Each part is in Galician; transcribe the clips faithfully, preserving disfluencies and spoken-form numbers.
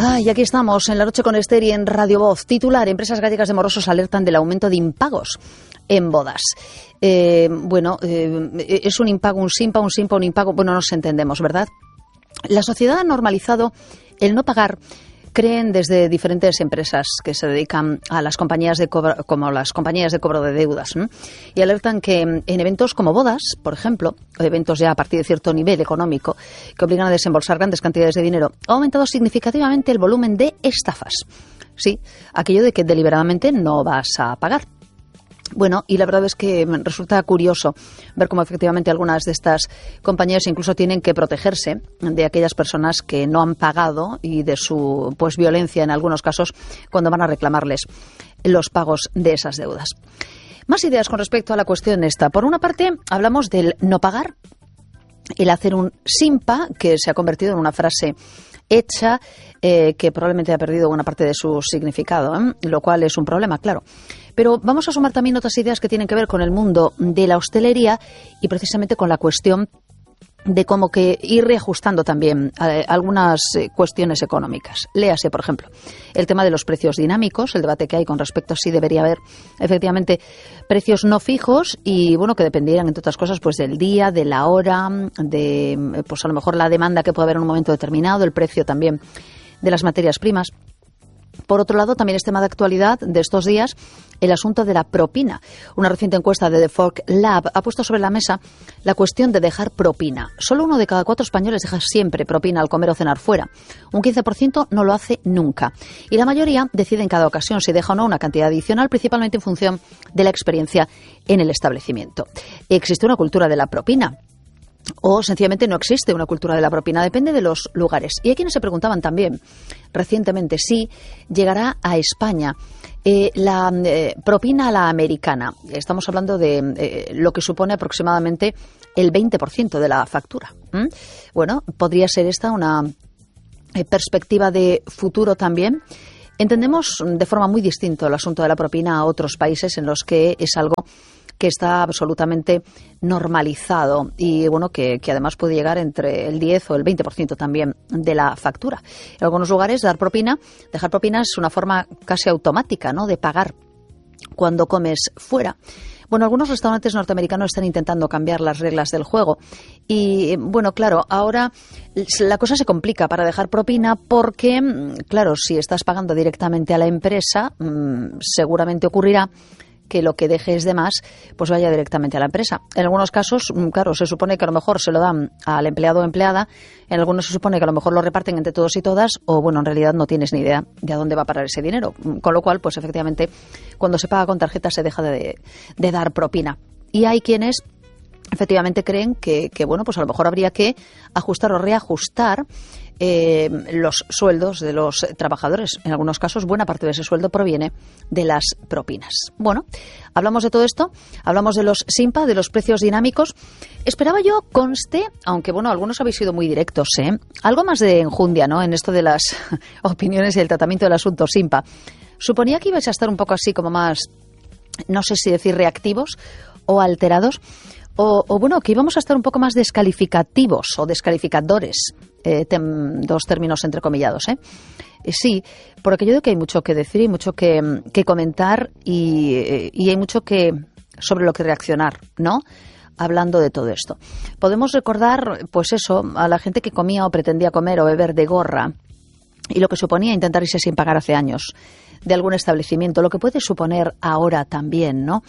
Ah, y aquí estamos, en La Noche con Esther y en Radio Voz. Titular: empresas gallegas de morosos alertan del aumento de impagos en bodas. Eh, bueno, eh, es un impago, un simpa, un simpa, un impago. Bueno, nos entendemos, ¿verdad? La sociedad ha normalizado el no pagar, creen desde diferentes empresas que se dedican a las compañías de cobro, como las compañías de cobro de deudas, ¿eh? Y alertan que en eventos como bodas, por ejemplo, o eventos ya a partir de cierto nivel económico que obligan a desembolsar grandes cantidades de dinero, ha aumentado significativamente el volumen de estafas. Sí, aquello de que deliberadamente no vas a pagar. Bueno, y la verdad es que resulta curioso ver cómo efectivamente algunas de estas compañías incluso tienen que protegerse de aquellas personas que no han pagado y de su pues violencia en algunos casos cuando van a reclamarles los pagos de esas deudas. Más ideas con respecto a la cuestión esta. Por una parte, hablamos del no pagar, el hacer un simpa, que se ha convertido en una frase hecha, eh, que probablemente ha perdido buena parte de su significado, ¿eh? Lo cual es un problema, claro. Pero vamos a sumar también otras ideas que tienen que ver con el mundo de la hostelería y precisamente con la cuestión de cómo que ir reajustando también eh, algunas eh, cuestiones económicas. Léase, por ejemplo, el tema de los precios dinámicos, el debate que hay con respecto a si debería haber efectivamente precios no fijos y, bueno, que dependieran, entre otras cosas, pues del día, de la hora, de, pues a lo mejor la demanda que puede haber en un momento determinado, el precio también de las materias primas. Por otro lado, también es tema de actualidad de estos días el asunto de la propina. Una reciente encuesta de The Fork Lab ha puesto sobre la mesa la cuestión de dejar propina. Solo uno de cada cuatro españoles deja siempre propina al comer o cenar fuera. Un quince por ciento no lo hace nunca. Y la mayoría decide en cada ocasión si deja o no una cantidad adicional, principalmente en función de la experiencia en el establecimiento. ¿Existe una cultura de la propina? O sencillamente no existe una cultura de la propina, depende de los lugares. Y hay quienes se preguntaban también recientemente si llegará a España eh, la eh, propina a la americana. Estamos hablando de eh, lo que supone aproximadamente el veinte por ciento de la factura. ¿Mm? Bueno, podría ser esta una eh, perspectiva de futuro también. Entendemos de forma muy distinta el asunto de la propina a otros países en los que es algo que está absolutamente normalizado y bueno que, que además puede llegar entre el diez o el veinte por ciento también de la factura. En algunos lugares dar propina, dejar propina es una forma casi automática, ¿no?, de pagar cuando comes fuera. Bueno, algunos restaurantes norteamericanos están intentando cambiar las reglas del juego y, bueno, claro, ahora la cosa se complica para dejar propina porque, claro, si estás pagando directamente a la empresa, seguramente ocurrirá que lo que dejes de más pues vaya directamente a la empresa. En algunos casos, claro, se supone que a lo mejor se lo dan al empleado o empleada, en algunos se supone que a lo mejor lo reparten entre todos y todas, o bueno, en realidad no tienes ni idea de a dónde va a parar ese dinero. Con lo cual, pues efectivamente, cuando se paga con tarjeta se deja de, de dar propina. Y hay quienes efectivamente creen que, que, bueno, pues a lo mejor habría que ajustar o reajustar eh, los sueldos de los trabajadores. En algunos casos, buena parte de ese sueldo proviene de las propinas. Bueno, hablamos de todo esto, hablamos de los simpa, de los precios dinámicos. Esperaba yo, conste, aunque bueno, algunos habéis sido muy directos, ¿eh? Algo más de enjundia, ¿no?, en esto de las opiniones y el tratamiento del asunto simpa. Suponía que ibais a estar un poco así como más, no sé si decir reactivos o alterados. O, o bueno, que íbamos a estar un poco más descalificativos o descalificadores, eh, tem, dos términos entrecomillados, ¿eh? Eh, sí, por aquello de que hay mucho que decir y mucho que, que comentar y, eh, y hay mucho que sobre lo que reaccionar, ¿no?, hablando de todo esto. Podemos recordar, pues eso, a la gente que comía o pretendía comer o beber de gorra y lo que suponía intentar irse sin pagar hace años de algún establecimiento, lo que puede suponer ahora también, ¿no?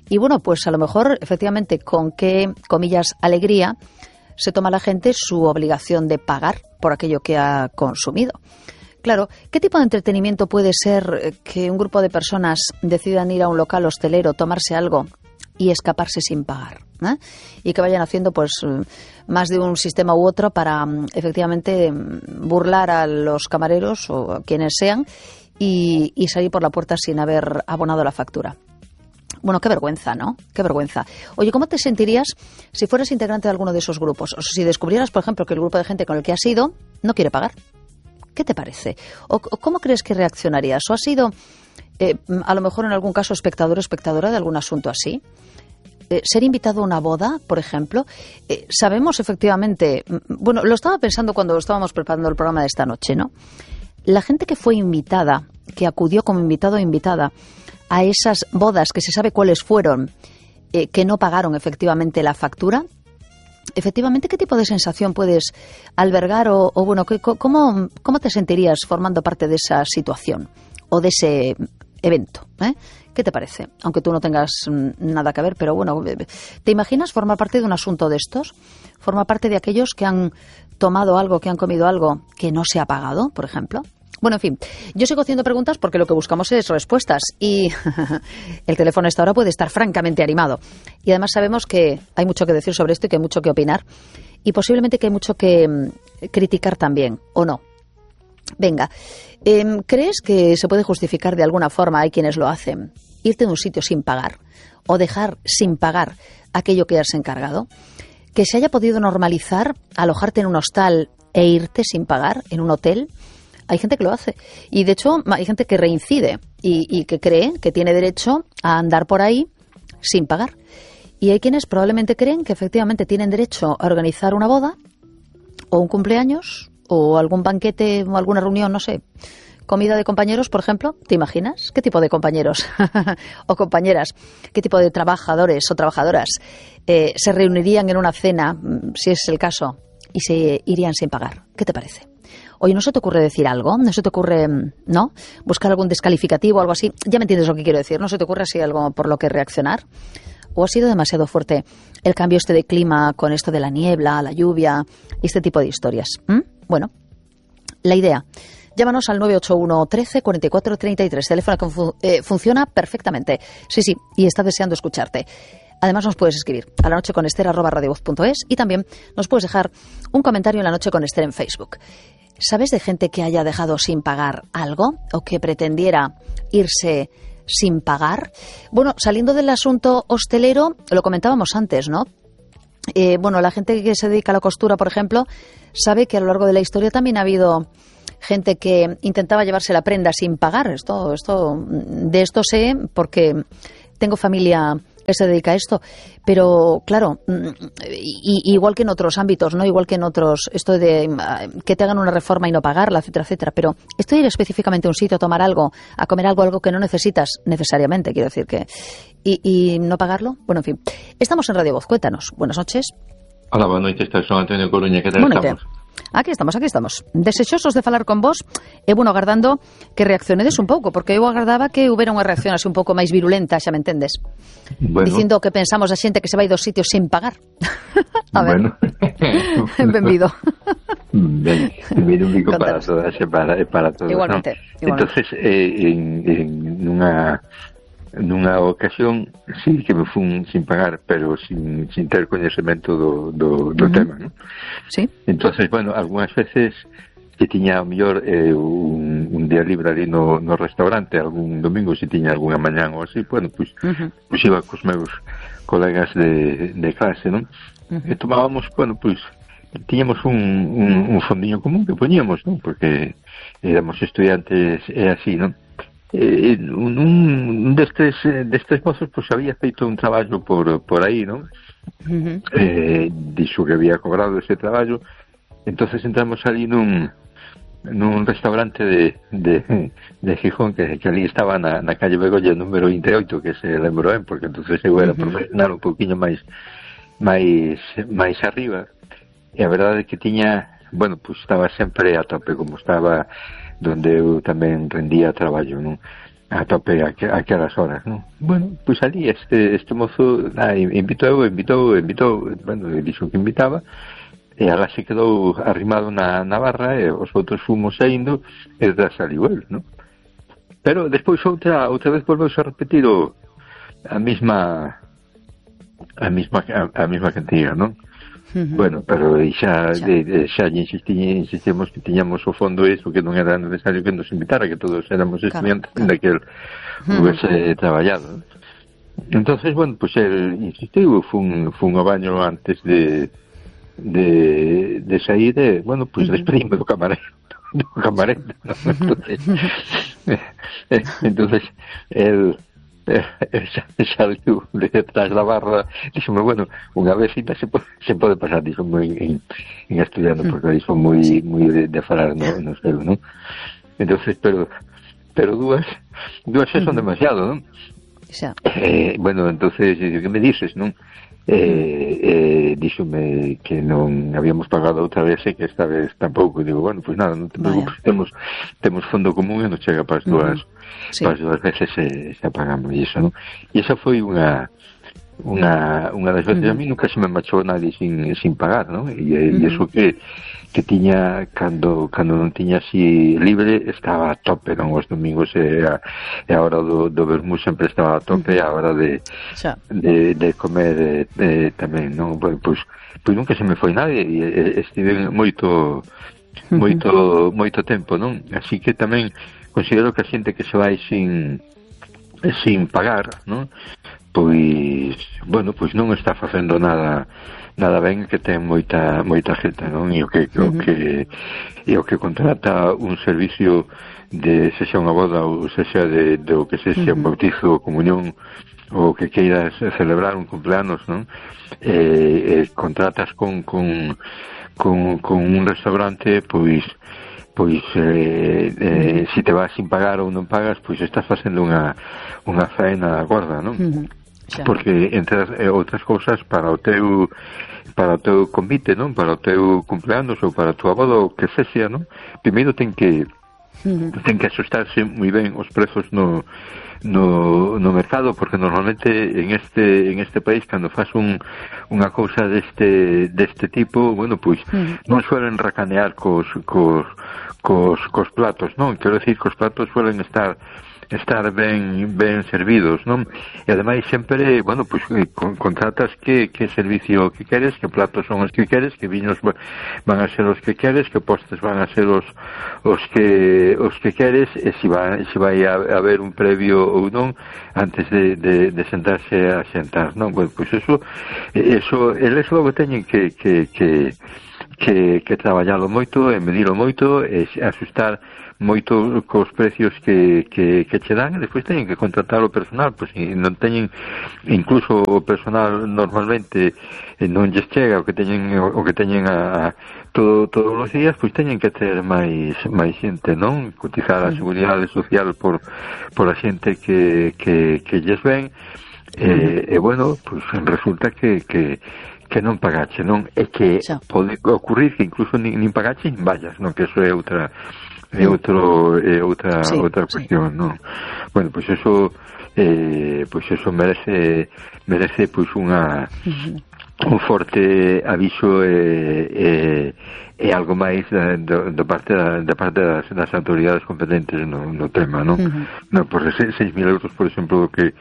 Y bueno, pues a lo mejor, efectivamente, con qué, comillas, alegría se toma la gente su obligación de pagar por aquello que ha consumido. Claro, ¿qué tipo de entretenimiento puede ser que un grupo de personas decidan ir a un local hostelero, tomarse algo y escaparse sin pagar, ¿eh? Y que vayan haciendo pues más de un sistema u otro para efectivamente burlar a los camareros o a quienes sean y, y salir por la puerta sin haber abonado la factura? Bueno, qué vergüenza, ¿no? Qué vergüenza. Oye, ¿cómo te sentirías si fueras integrante de alguno de esos grupos? O si descubrieras, por ejemplo, que el grupo de gente con el que has ido no quiere pagar. ¿Qué te parece? ¿O cómo crees que reaccionarías? ¿O has sido, eh, a lo mejor en algún caso, espectador o espectadora de algún asunto así? Eh, ¿Ser invitado a una boda, por ejemplo? Eh, sabemos efectivamente, bueno, lo estaba pensando cuando estábamos preparando el programa de esta noche, ¿no? la gente que fue invitada, que acudió como invitado o invitada a esas bodas que se sabe cuáles fueron, eh, que no pagaron efectivamente la factura, efectivamente, ¿qué tipo de sensación puedes albergar o, o bueno, ¿cómo, cómo te sentirías formando parte de esa situación o de ese evento? ¿eh? ¿Qué te parece? Aunque tú no tengas nada que ver, pero bueno, ¿te imaginas formar parte de un asunto de estos? ¿Formar parte de aquellos que han tomado algo, que han comido algo que no se ha pagado, por ejemplo? Bueno, en fin, yo sigo haciendo preguntas porque lo que buscamos es respuestas y el teléfono a esta hora puede estar francamente animado. Y además sabemos que hay mucho que decir sobre esto y que hay mucho que opinar y posiblemente que hay mucho que mm, criticar también, ¿o no? Venga, eh, ¿crees que se puede justificar de alguna forma, hay quienes lo hacen, irte de un sitio sin pagar o dejar sin pagar aquello que has encargado? ¿Que se haya podido normalizar alojarte en un hostal e irte sin pagar en un hotel? Hay gente que lo hace y de hecho hay gente que reincide y, y que cree que tiene derecho a andar por ahí sin pagar. Y hay quienes probablemente creen que efectivamente tienen derecho a organizar una boda o un cumpleaños o algún banquete o alguna reunión, no sé, comida de compañeros, por ejemplo. ¿Te imaginas? ¿Qué tipo de compañeros o compañeras? ¿Qué tipo de trabajadores o trabajadoras eh, se reunirían en una cena, si es el caso, y se irían sin pagar? ¿Qué te parece? Oye, ¿no se te ocurre decir algo? ¿No se te ocurre, no? Buscar algún descalificativo o algo así. Ya me entiendes lo que quiero decir. ¿No se te ocurre así algo por lo que reaccionar? ¿O ha sido demasiado fuerte el cambio este de clima con esto de la niebla, la lluvia y este tipo de historias? ¿Mm? Bueno, la idea. Llámanos al nueve ocho uno trece cuarenta y cuatro treinta y tres. Teléfono que fu- eh, funciona perfectamente. Sí, sí, y está deseando escucharte. Además nos puedes escribir a la noche con Ester arroba radiovoz punto es y también nos puedes dejar un comentario en La Noche con Ester en Facebook. ¿Sabes de gente que haya dejado sin pagar algo o que pretendiera irse sin pagar? Bueno, saliendo del asunto hostelero, lo comentábamos antes, ¿no? Eh, bueno, la gente que se dedica a la costura, por ejemplo, sabe que a lo largo de la historia también ha habido gente que intentaba llevarse la prenda sin pagar. Esto, esto, de esto sé porque tengo familia que se dedica a esto, pero claro, y, igual que en otros ámbitos, no, igual que en otros, esto de que te hagan una reforma y no pagarla, etcétera, etcétera. Pero esto de ir específicamente a un sitio a tomar algo, a comer algo, algo que no necesitas necesariamente, quiero decir que y, y no pagarlo, bueno, en fin. Estamos en Radio Voz, cuéntanos. Buenas noches. Hola, buenas noches, soy Antonio Coruña, que tal estamos? Aquí estamos, aquí estamos. Desexosos de falar con vos, e bueno, agardando que reaccionedes un pouco, porque eu agardaba que houbera unha reacción así un pouco máis virulenta, xa me entendes? Bueno. Dicindo que pensamos a xente que se vai dos sitios sin pagar. A ver. Bueno. Benvido. Ben, benvido para todas e para, para todos. Igualmente. ¿no? Igualmente. Entonces, eh, en, en nunha nunha ocasión sí que me fun sin pagar, pero sin, sin ter coñecemento do, do, do uh-huh. tema, ¿no? Sí. Entonces, bueno, algunhas veces que tiña o mellor eh, un, un día libre ali no, no restaurante, algún domingo, se tiña algunha mañán ou así, bueno, pois pues, uh-huh. pues iba cos meus colegas de, de clase, non? Uh-huh. E tomábamos, bueno, pois pues, tiñamos un, un, un fondiño común que poñíamos, non? Porque éramos estudiantes e así, non? Eh, un, un destes destes mozos pois pues, había feito un traballo por, por aí, non? Uh-huh. Eh, dixo que había cobrado ese traballo. Entonces entramos ali nun nun restaurante de, de, de Gijón que, que ali estaba na, na calle Begolla número vinte e oito, que se lembro ben, porque entonces eu era uh-huh. profesional un poquinho máis máis máis arriba, e a verdade é que tiña, bueno, pois pues, estaba sempre a tope, como estaba donde eu tamén rendía traballo, non? A tope a aquelas horas, non? Bueno, pois pues ali este este mozo ah, invitou, invitou, invitou, bueno, dixo que invitaba, e agora se quedou arrimado na, na barra e os outros fomos saindo e detrás saliu el, non? Pero despois outra outra vez volveuse a repetir o, a mesma a mesma a, a mesma cantidad, non? Uh-huh. Bueno, pero xa, xa. De, de, xa insistí, insistimos que tiñamos o fondo eso, que non era necesario que nos invitara, que todos éramos estudiantes claro, claro. daquel uh-huh. hubiese traballado. Entonces, bueno, pues el insistiu, fun, fun ao baño antes de de, de sair e, bueno, pues uh-huh. despedíme do camarero do camarero, ¿no? Entonces entonces el Eh, saliu detrás da barra, díxome, bueno, unha vez cita se pode, se pode pasar, díxome en, en, en estudiando, porque díxo moi, moi de, de falar no, no seu, non? entonces, pero pero dúas, dúas xa son demasiado, non? Xa. Eh, bueno, entonces, que me dices, non? Eh, eh, díxome que non habíamos pagado outra vez e que esta vez tampouco. Digo, bueno, pois pues nada, non te preocupes, temos temos fondo común e non chega para as dúas, uh-huh. sí. para as dúas veces e xa pagamos e iso, non? E esa foi unha unha unha das veces. Uh-huh. A mí nunca se me marchou nadie sin sin pagar, non? E, uh-huh. e iso que que tiña cando cando non tiña así libre estaba a tope, non? Os domingos e a, e a hora do, do vermú sempre estaba a tope, uh-huh. a hora de, de, de comer de, de, tamén, non? Bueno, pois, pois nunca se me foi nadie e, e estive moito moito uh-huh. moito tempo, non? Así que tamén considero que a xente que se vai sin sin pagar, non? Pois, bueno, pois non está facendo nada nada ben, que ten moita moita xente, non? E o que, uh-huh. o que e o que contrata un servicio de sexa unha boda ou sexa de, de o que sexa uh-huh. un bautizo ou comunión ou que queiras celebrar un cumpleanos, non? Eh, eh, contratas con, con, con, con un restaurante, pois pois eh, eh, se te vas sin pagar ou non pagas, pois estás facendo unha unha faena gorda, non? Uh-huh. Xa. Porque entre as, eh, outras cousas, para o teu para o teu convite, non? Para o teu cumpleanos ou para a tua boda ou que sexa, non? Primeiro ten que uh-huh. ten que asustarse moi ben os prezos no no no mercado, porque normalmente en este en este país cando faz un unha cousa deste deste tipo, bueno, pois uh-huh. non suelen racanear cos cos cos cos platos, non? Quero decir, cos platos suelen estar estar ben ben servidos, non? E ademais sempre, bueno, pois con, contratas que que servicio que queres, que platos son os que queres, que viños van a ser os que queres, que postres van a ser os os que os que queres, e se vai se vai a, a haber un previo ou non antes de, de, de sentarse a xentar, non? Bueno, pois eso eso eles logo teñen que que que que que traballalo moito e medilo moito e asustar moito cos precios que, que, que che dan, e despois teñen que contratar o personal, pois e non teñen, incluso o personal normalmente non lles chega o que teñen o que teñen a, a todo, todos os días, pois teñen que ter máis máis xente, non? Cotizar a seguridade social por por a xente que, que, que lles ven, e, e bueno, pois resulta que, que que non pagache, non? É que xa. Pode ocurrir que incluso nin, nin pagache nin vallas, non? Que eso é outra é outro é outra sí, outra cuestión, sí. Non? Bueno, pois pues eso eh pois pues eso merece merece pois pues unha uh-huh. un forte aviso e e e algo máis da, da, da parte da, da parte das, das autoridades competentes no, no tema, non? Uh-huh. Non, por seis mil euros, por exemplo, que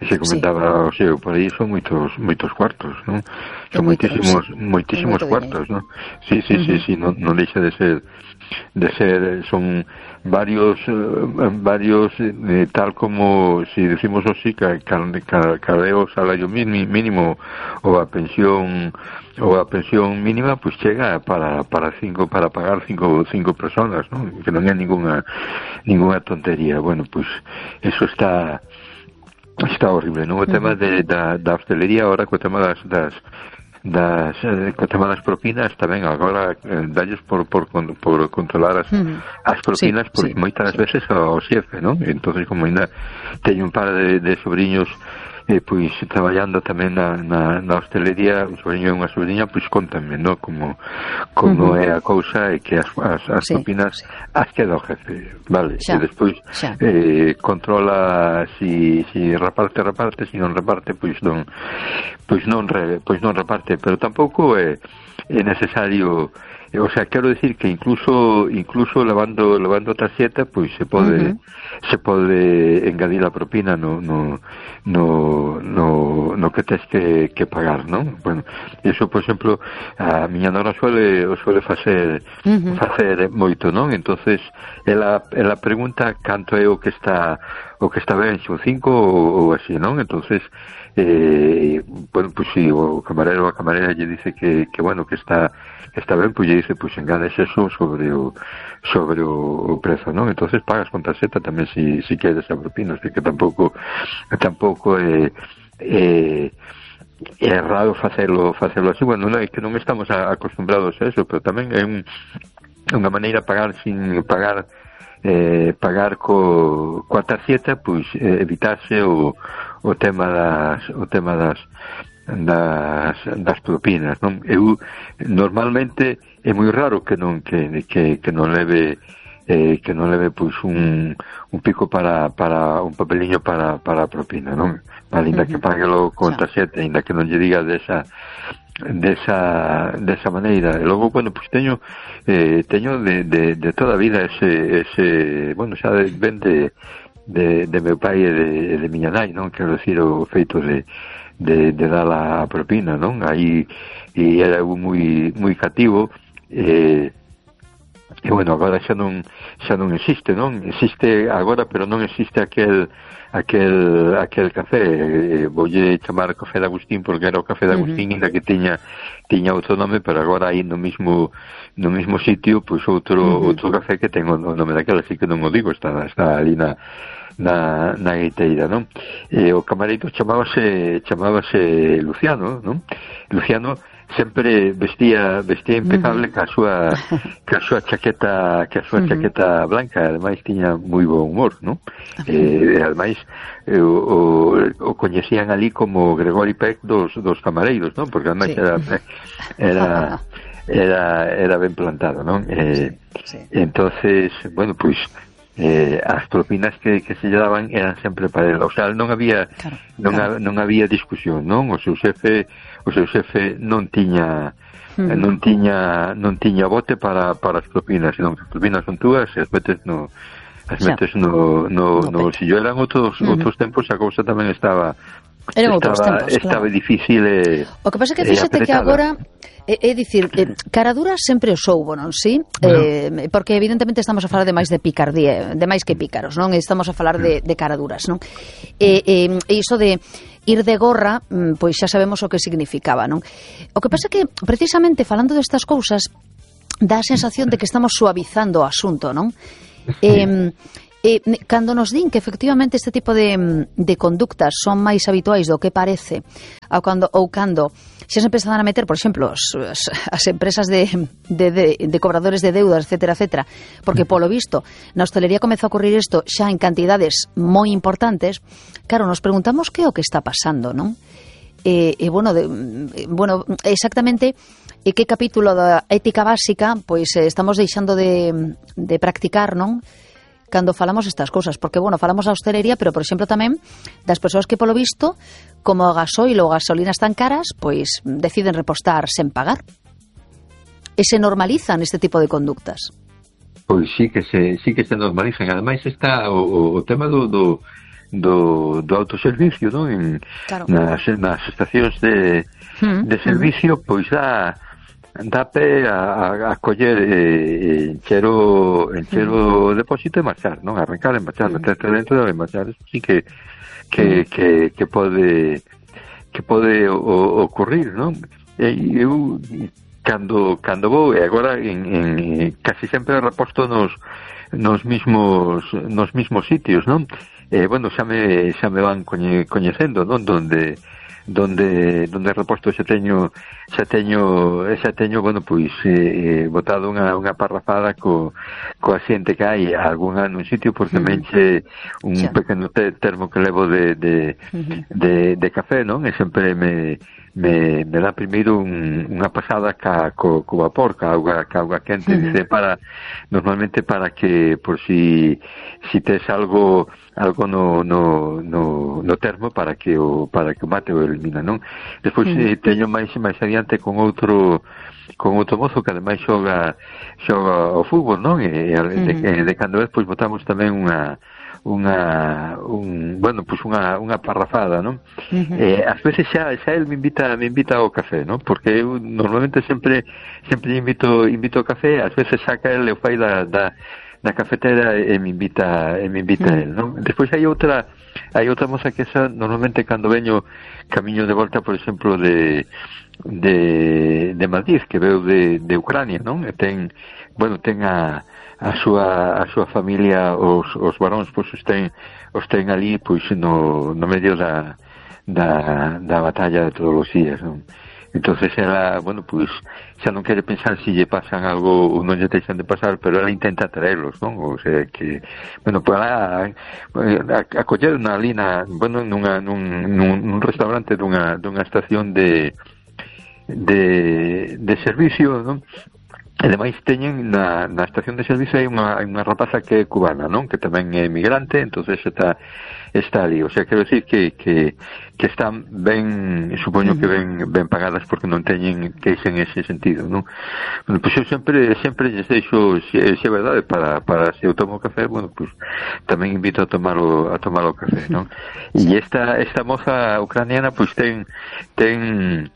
se comentaba, sí. O sea, por aí son moitos moitos cuartos, non? Son moitísimos sí. moitísimos cuartos, non? Sí, sí, uh-huh. sí, sí, non, non deixa de ser de ser, son varios eh, varios eh, tal como si decimos así, cadeo salario mínimo ou a pensión ou a pensión mínima, pois pues chega para para cinco para pagar cinco cinco personas, ¿no? Que non é ninguna ninguna tontería. Bueno, pois pues eso está está horrible, ¿no? O tema de da, da hostelería agora, co tema das das das eh, co tema das propinas tamén agora eh, dalles por, por por controlar as, uh-huh. as propinas, sí, porque sí, moitas sí. veces ao xefe, non? Entonces, como ainda teño un par de, de sobrinhos eh, pois traballando tamén na, na, na hostelería, un sobrinho e unha sobrinha, pois contanme, non? Como como uh-huh. é a cousa, e que as, as, as sí, propinas sí. as queda o jefe, vale? Xa, e despois eh, controla si, si reparte, reparte, si non reparte, pois non pois non re, pois non reparte, pero tampouco é, é necesario. O sea, quero decir que incluso incluso levando levando tarxeta, pois se pode uh-huh. se pode engadir a propina no no no no, no que tes que, que pagar, non? Bueno, eso, por exemplo, a miña nora suele o suele facer uh-huh. facer moito, non? Entonces, ela ela pregunta canto é o que está o que está ben, son cinco ou, ou así, non? Entonces, eh, bueno, pues si sí, o camarero ou a camarera lle dice que, que bueno, que está que está ben, pues lle dice, pues engades eso sobre o sobre o, o prezo, non? Entonces pagas con tarxeta tamén si, si queres a propina, así que tampouco tampouco é eh, é raro facelo facelo así. Bueno, non é que non estamos acostumbrados a eso, pero tamén é un, unha maneira de pagar sin pagar eh, pagar co, coa tarxeta, pois eh, evitarse o, o tema das o tema das das, das propinas, non? Eu normalmente é moi raro que non que, que, que non leve eh, que non leve pois un, un pico para, para un papeliño para, para a propina, non? Ainda que paguelo con tarxeta, ainda que non lle diga desa desa desa maneira. E logo, bueno, pois teño eh, teño de, de, de toda a vida ese, ese bueno, xa de, ben de, de, de meu pai e de, de miña nai, non? Quero dicir, o feito de de, de dar a propina, non? Aí e era moi moi cativo, eh, e bueno, agora xa non xa non existe, non? Existe agora, pero non existe aquel aquel aquel café, eh, voulle chamar café de Agustín porque era o café de Agustín, uh-huh. Ainda que tiña tiña outro nome, pero agora aí no mismo no mismo sitio, pois outro uh-huh. outro café que ten o nome daquela, así que non o digo, está está ali na na, na guiteira, non? E o camareiro chamábase chamábase Luciano, non? Luciano sempre vestía vestía impecable, uh-huh. ca súa ca súa chaqueta, ca súa uh-huh. chaqueta blanca, ademais tiña moi bo humor, non? Uh-huh. E ademais eh, o, o, o coñecían ali como Gregory Peck dos dos camareiros, non? Porque ademais sí. era era era era ben plantado, non? Eh, sí, sí. Entonces, bueno, pois eh, as propinas que, que se lle daban eran sempre para ele, o sea, non había claro, non, claro. A, non había discusión, non? O seu xefe o seu xefe non tiña mm. non tiña non tiña bote para, para as propinas, senón que as propinas son túas e as metes no as metes no, no, no, no bolsillo. Eran outros, mm-hmm. outros tempos, a cousa tamén estaba Eran estaba, tempos, estaba claro. difícil e, o que pasa é que fíxate que agora é, é dicir, eh, caraduras sempre os soubo, non? Sí? Bueno. Eh, porque evidentemente estamos a falar de máis de picardía, de máis que pícaros, non? Estamos a falar de, de caraduras, non? E eh, eh, iso de ir de gorra, pois xa sabemos o que significaba, non? O que pasa é que precisamente falando destas cousas dá a sensación de que estamos suavizando o asunto, non? Eh, Eh, cando nos din que efectivamente este tipo de, de conductas son máis habituais do que parece, ou cando, ou cando xa se empezan a meter, por exemplo, as, as empresas de, de, de, de cobradores de deudas, etcétera, etcétera, porque polo visto na hostelería comeza a ocurrir isto xa en cantidades moi importantes, claro, nos preguntamos que é o que está pasando, non? E, e bueno, de, bueno, exactamente e que capítulo da ética básica pois estamos deixando de, de practicar, non? Cando falamos estas cousas, porque, bueno, falamos da hostelería, pero, por exemplo, tamén das persoas que, polo visto, como o gasoil ou gasolina están caras, pois deciden repostar sen pagar. E se normalizan este tipo de conductas. Pois sí que se, sí que se normalizan. Ademais está o, o tema do, do, do, do autoservicio, non? En, claro. nas, nas estacións de, mm, de servicio, mm. pois dá... dá pé a, a coller eh, encher o encher o depósito e marchar, non? Arrancar e marchar, meterte dentro e marchar. Eso sí que que, que, que pode que pode o, ocurrir, non? E eu cando cando vou, e agora en, en casi sempre reposto nos nos mismos nos mismos sitios, non? Eh, bueno, xa me xa me van coñe, coñecendo, non? Donde donde donde reposto xa teño xa teño xa teño bueno, pois eh, botado unha, unha parrafada co, coa xente que hai algunha nun sitio, porque tamén che un xa. pequeno te, termo que levo de de, uh-huh. de de café, non? E sempre me me, me dá primeiro un, unha pasada ca, co, co vapor, ca auga, ca auga quente, uh-huh. dice, para normalmente para que por si si tes algo algo no, no, no, no termo para que o para que o mate o elimina, non? Despois uh-huh. eh, teño máis máis adiante con outro con outro mozo que ademais xoga xoga o fútbol, non? E, e de, uh-huh. de cando vez pois botamos tamén unha unha un, bueno, pois unha unha parrafada, non? Uh-huh. Eh, ás veces xa xa el me invita me invita ao café, non? Porque eu normalmente sempre sempre invito invito ao café, ás veces saca el e o fai da da na cafetera e me invita e me invita uh-huh. el, non? Despois hai outra hai outra moza que esa normalmente cando veño camiño de volta, por exemplo, de de de Madrid, que veu de de Ucrania, non? E ten, bueno, ten a a súa a súa familia, os os varóns, pois os ten os ten ali, pois no no medio da da da batalla de todos os días, non? entonces ela, bueno, pois xa non quere pensar se lle pasan algo ou non lle deixan de pasar, pero ela intenta traerlos, non? O sea, que, bueno, para acoller unha lina, bueno, nunha, nun, nun, nun restaurante dunha, dunha estación de de, de servicio, non? E ademais teñen na, na estación de servicio hai unha, hai unha rapaza que é cubana, non? Que tamén é migrante, entonces está está ali, o sea, quero decir que, que, que están ben, supoño que ben, ben pagadas porque non teñen queixa en ese sentido, non? Bueno, pois eu sempre, sempre lles deixo, se, se é verdade, para, para se eu tomo café, bueno, pois tamén invito a tomar o, a tomar o café, non? E esta, esta moza ucraniana, pois ten, ten,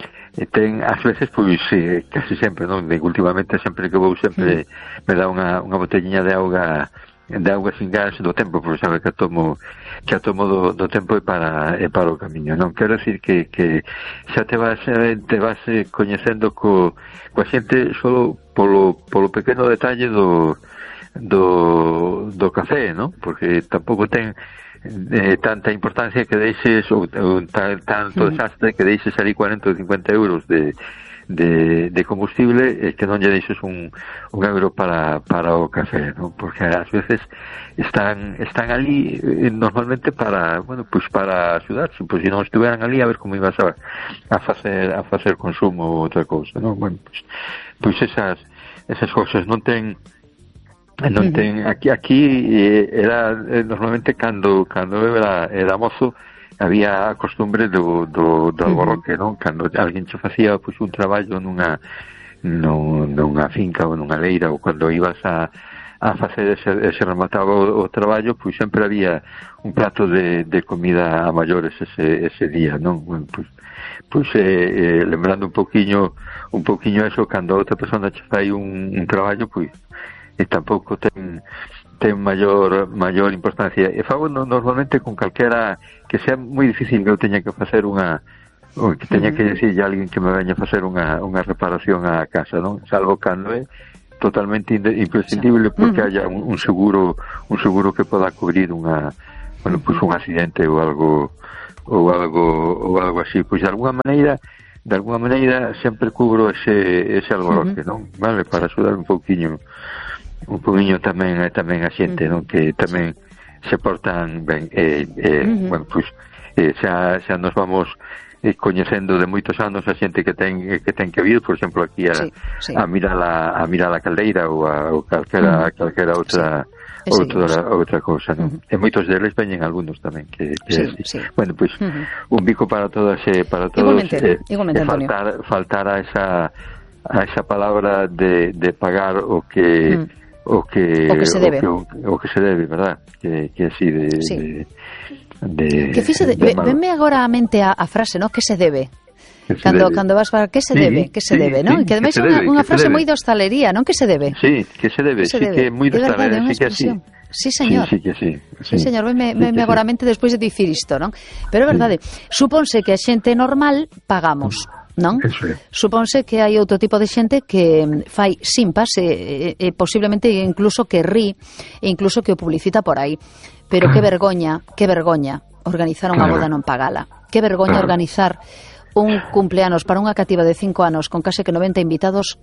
ten ás veces, pois, eh, casi sempre, non? De, últimamente, sempre que vou, sempre me dá unha, unha botellinha de auga, de auga sin gas do tempo, porque sabe que a tomo que a tomo do, do tempo e para e para o camiño, non? Quero decir que, que xa te vas te vas coñecendo co, coa xente solo polo, polo pequeno detalle do do, do café, non? Porque tampouco ten eh, tanta importancia que deixes ou, ou tanto desastre que deixes ali cuarenta ou cincuenta euros de de, de combustible eh, que non lle deixes un, un euro para, para o café, ¿no? Porque ás veces están están ali eh, normalmente para, bueno, pues para axudar, pois se non estuveran ali a ver como ibas a, a facer a facer consumo ou outra cousa, ¿no? Bueno, pues, pues esas esas cousas non ten non ten aquí aquí eh, era eh, normalmente cando cando eu era era mozo había a costumbre do, do, do alborroque, non? Cando alguén che facía pois, un traballo nunha, nun, nunha finca ou nunha leira, ou cando ibas a, a facer ese, ese remataba o, o traballo, pois sempre había un plato de, de comida a maiores ese, ese día, non? Bueno, pois, pois eh, eh, lembrando un poquinho un poquinho eso, cando a outra persona che fai un, un traballo, pois e tampouco ten ten maior maior importancia. E fago no, normalmente con calquera que sea moi difícil que eu teña que facer unha ou que teña que decirlle a alguén que me veña a facer unha, unha reparación á casa, non? Salvo cando é totalmente imprescindible porque haya un, un seguro un seguro que poda cubrir unha, bueno, pues un accidente ou algo ou algo ou algo así, pois de alguna maneira de alguna maneira sempre cubro ese ese alboroque, non? Vale, para axudar un pouquiño un poquinho tamén tamén a xente, non? Que tamén se portan ben eh, eh, uh-huh. bueno, pois eh, xa, xa nos vamos eh, coñecendo de moitos anos a xente que ten que ten que vir, por exemplo, aquí a, sí, sí. a mirar a, a mirar a caldeira ou a ou calquera, uh-huh. calquera outra sí. outra, sí. outra cousa, non? Uh-huh. E moitos deles veñen algúns tamén que, que sí, sí. sí. Bueno, pois pues, uh-huh. un bico para todas eh, para todos igualmente, eh, igualmente, eh, faltar, faltar a esa a esa palabra de, de pagar o que uh-huh. o que o que se debe, o que, o que se debe, verdad? Que, que así de, sí. de, de que fixe, de, de venme agora a mente a, a frase, ¿no? Que se debe. Que se cando debe. cando vas para que se sí, debe, que se sí, debe, ¿no? Sí, que ademais é unha, unha frase moi de hostalería, non? Que se debe. Sí, que se debe, que se sí debe. que é moi de hostalería, sí que así. Sí, señor. Sí, sí que sí. Sí, sí señor, me, me, sí me agora a mente despois de dicir isto, non? Pero é verdade, sí. Supónse que a xente normal pagamos, non? Eso é. Supónse que hai outro tipo de xente que fai simpas e, e, e posiblemente incluso que rí e incluso que o publicita por aí. Pero que vergoña, que vergoña organizar unha boda non pagala. Que vergoña organizar un cumpleanos para unha cativa de cinco anos con case que noventa invitados